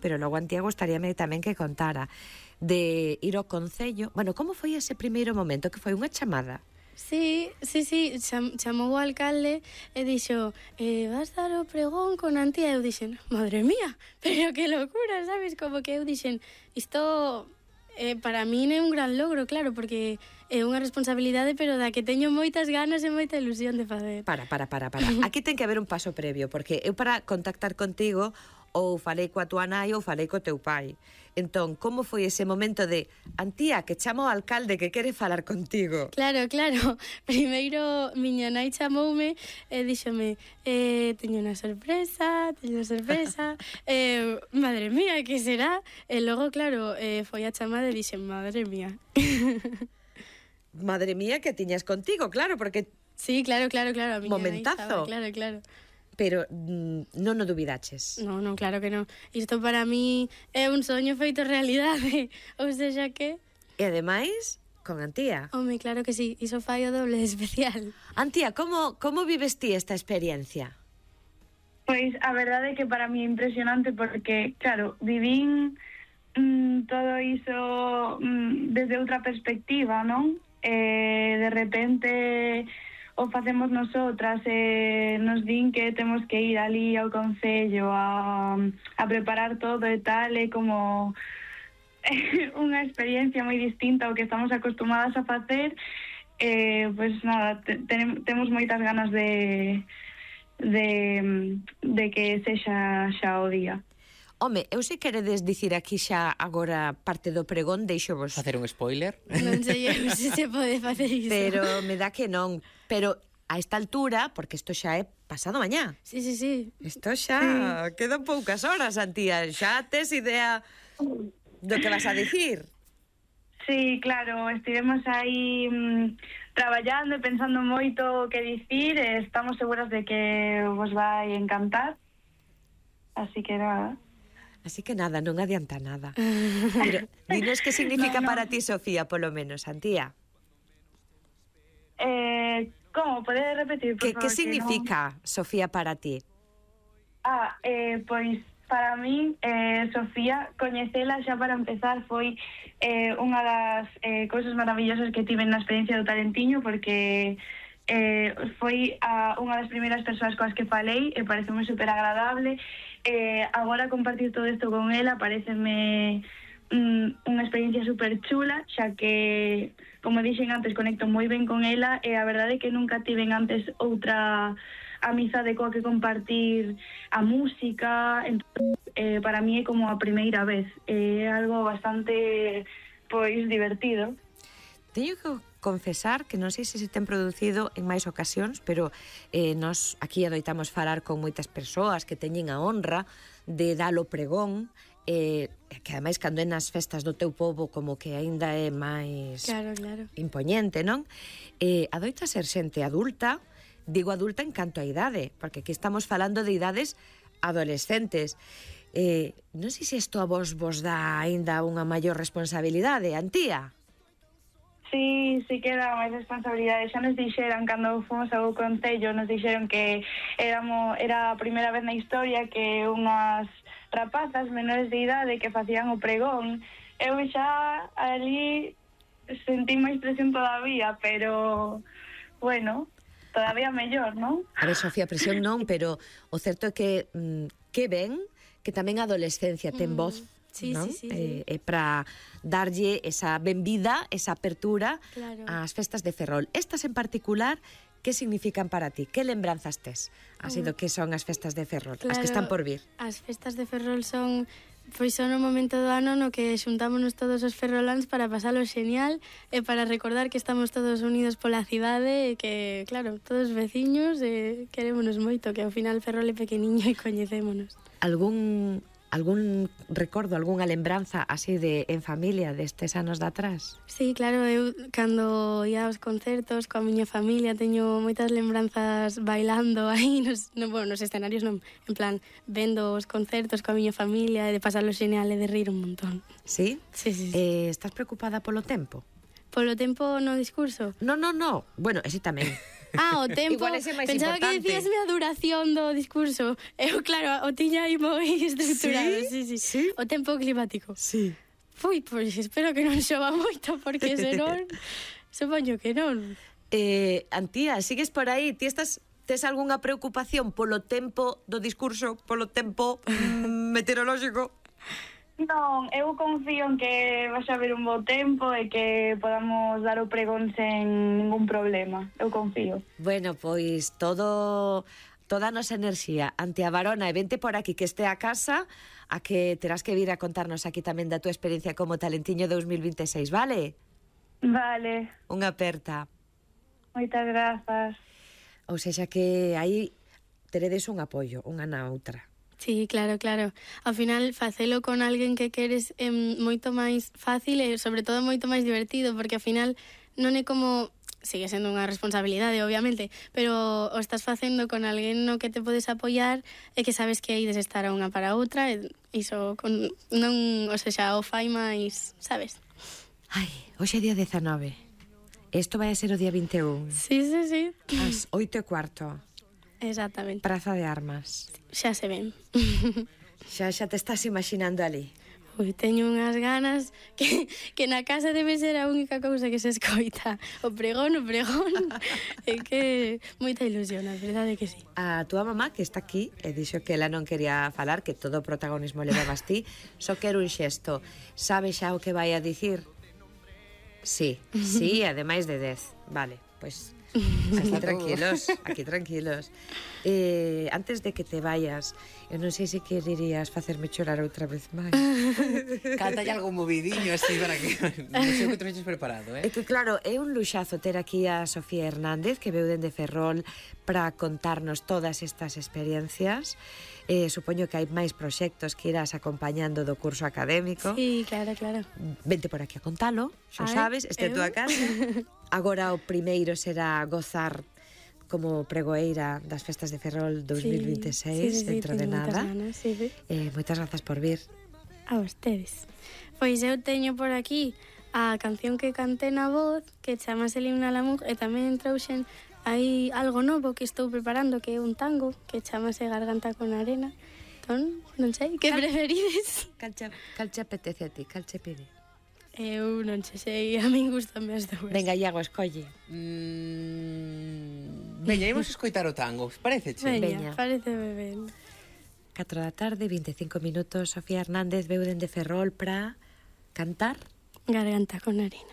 pero logo Antía gustaríame tamén que contara de ir ao Concello. Bueno, como foi ese primeiro momento? Que foi unha chamada? Sí, chamou o alcalde e dixo, vas dar o pregón con Antía. E eu dixen, madre mía, pero que locura, sabes? Como que eu dixen, isto para min é un gran logro, claro, porque é unha responsabilidade, pero da que teño moitas ganas e moita ilusión de facer. Para. Aquí ten que haber un paso previo, porque eu para contactar contigo ou falei coa tua nai ou falei co teu pai. Entón, como foi ese momento de Antía, que chama o alcalde que quere falar contigo? Claro. Primeiro, miña nai chamoume e díxome, teño unha sorpresa. Madre mía, que será? E logo, claro, foi a chamada e dixen, madre mía. Madre mía, que tiñas contigo, claro, porque... Sí, claro, a miña momentazo. Nai estaba, claro. Pero non o dubidaches? Non, claro que non. Isto para mí é un soño feito realidade. Ou seja que... E ademais, con Antía. Home, claro que sí. Iso fai o doble de especial. Antía, como vives ti esta experiencia? Pois a verdade é que para mí é impresionante porque, claro, vivín todo iso desde outra perspectiva, non? De repente... o facemos nosotras, nos din que temos que ir ali ao Concello a preparar todo e tal, é como unha experiencia moi distinta ao que estamos acostumadas a facer. Pois nada, temos moitas ganas de que sexa xa o día. Home, eu se queredes dicir aquí xa agora parte do pregón, deixo vos... Facer un spoiler? Non sei se se pode facer iso. Pero me dá que non. Pero a esta altura, porque isto xa é pasado mañá. Sí. Isto xa quedan poucas horas, Antía. Xa tes idea do que vas a dicir? Sí, claro, estivemos aí traballando e pensando moito o que dicir, e estamos seguras de que vos vai encantar. Así que nada, non adianta nada. Pero dinos que significa para ti, Sofía, polo menos, Antía. Como? Podes repetir, por favor? Que significa, Sofía, para ti? Pois, para min, Sofía, coñecela xa para empezar foi unha das cousas maravillosas que tive na experiencia do Talentiño, porque foi unha das primeiras persoas coas que falei e pareceme super agradable. Agora compartir todo isto con ela pareceme unha experiencia super chula, xa que, como dixen antes, conecto moi ben con ela, e a verdade é que nunca tiven antes outra amizade coa que compartir a música. Entón, para mí é como a primeira vez, é algo bastante pois divertido. Teño que confesar que non sei se ten producido en máis ocasións, pero nos aquí adoitamos falar con moitas persoas que teñen a honra de dalo pregón, que ademais cando é nas festas do teu pobo como que aínda é máis claro. impoñente, non? Adoita ser xente adulta, digo adulta en canto a idade, porque aquí estamos falando de idades adolescentes. Non sei se isto a vos dá aínda unha maior responsabilidade, Antía? Sí que dá máis responsabilidade. Xa nos dixeron, cando fomos ao Concello, nos dixeron que era a primeira vez na historia que unhas rapazas menores de idade que facían o pregón. Eu xa ali sentí máis presión todavía, pero bueno, todavía mellor, non? A ver, Sofía, presión non, pero o certo é que ven que tamén a adolescencia ten voz. Sí. Para darlle esa benvida, esa apertura ás festas de Ferrol. Estas en particular, que significan para ti? Que lembranzas tes? Así do que son as festas de Ferrol, as que están por vir. As festas de Ferrol son o momento do ano no que xuntámonos todos os ferroláns para pasalo xenial e para recordar que estamos todos unidos pola cidade e que, claro, todos veciños e querémonos moito, que ao final Ferrol é pequeniño e coñecémonos. Algún recordo, algunha lembranza así en familia destes anos de atrás? Sí, claro, eu cando ia aos concertos coa miña familia teño moitas lembranzas bailando aí nos escenarios, non, en plan, vendo os concertos coa miña familia e de pasarlo xenial e de rir un montón. Sí? Sí. Estás preocupada polo tempo? Polo tempo no discurso? No. Bueno, ese tamén. Ah, o tempo. Igual ese é máis Pensaba importante. que decíasme a duración do discurso. Eu, claro, o tiña aí moi estruturado. Sí. O tempo climático. Sí. Fui, pois espero que non xova moito, porque senón, supoño que non. Antía, sigues por aí? Tes algunha preocupación polo tempo do discurso, polo tempo meteorolóxico? Non, eu confío en que vas a haber un bo tempo e que podamos dar o pregón sen ningún problema. Eu confío. Bueno, pois toda a nosa enerxía ante a Varona e vente por aquí que este a casa a que terás que vir a contarnos aquí tamén da túa experiencia como Talentiño 2026, vale? Vale, Unha aperta. moitas grazas. Ou seja que aí teredes un apoio, unha na outra. Sí, claro, claro. Ao final, facelo con alguén que queres é moito máis fácil e, sobre todo, moito máis divertido, porque ao final non é como... Sigue sendo unha responsabilidade, obviamente, pero o estás facendo con alguén no que te podes apoiar e que sabes que ides estar a unha para a outra e iso non, o sea, o fai máis, sabes? Ai, hoxe é día 19. Isto vai a ser o día 21. Sí. As 8:15. Exactamente. Praza de Armas. Xa se ven. Xa te estás imaginando ali. Ui, teño unhas ganas que na casa debe ser a única cousa que se escoita. O pregón. É que moita ilusión, a verdade é que sí. A túa mamá, que está aquí, e dixo que ela non quería falar, que todo o protagonismo le dabas ti, só quero un xesto. Sabe xa o que vai a dicir? Sí, ademais de 10. Vale, pois aquí tranquilos. Antes de que te vayas, eu non sei se quererías facerme chorar outra vez máis. Cántale algo movidiño así para que non sei o que tenéis preparado, É que claro, é un luxazo ter aquí a Sofía Hernández, que veu dende Ferrol para contarnos todas estas experiencias. Supoño que hai máis proxectos que irás acompañando do curso académico. Sí, claro. Vente por aquí a contalo, xa sabes, este é a túa casa. Agora o primeiro será gozar como pregoeira das festas de Ferrol 2026, dentro de nada. Moitas grazas por vir. A vostedes. Pois eu teño por aquí a canción que cantei na voz, que chamase El himno a la mujer, e tamén trouxen hai algo novo que estou preparando, que é un tango, que chamase Garganta con arena. Entón, non sei, que preferides? Cal che apetece a ti, cal che pide? Eu non sei, a min gustame as dúas. Venga, Iago, escolle. Veña, imos escoitar o tango, pareceche? Veña, pareceme ben. 4 da tarde, 25 minutos, Sofía Hernández veu dende Ferrol para cantar Garganta con arena.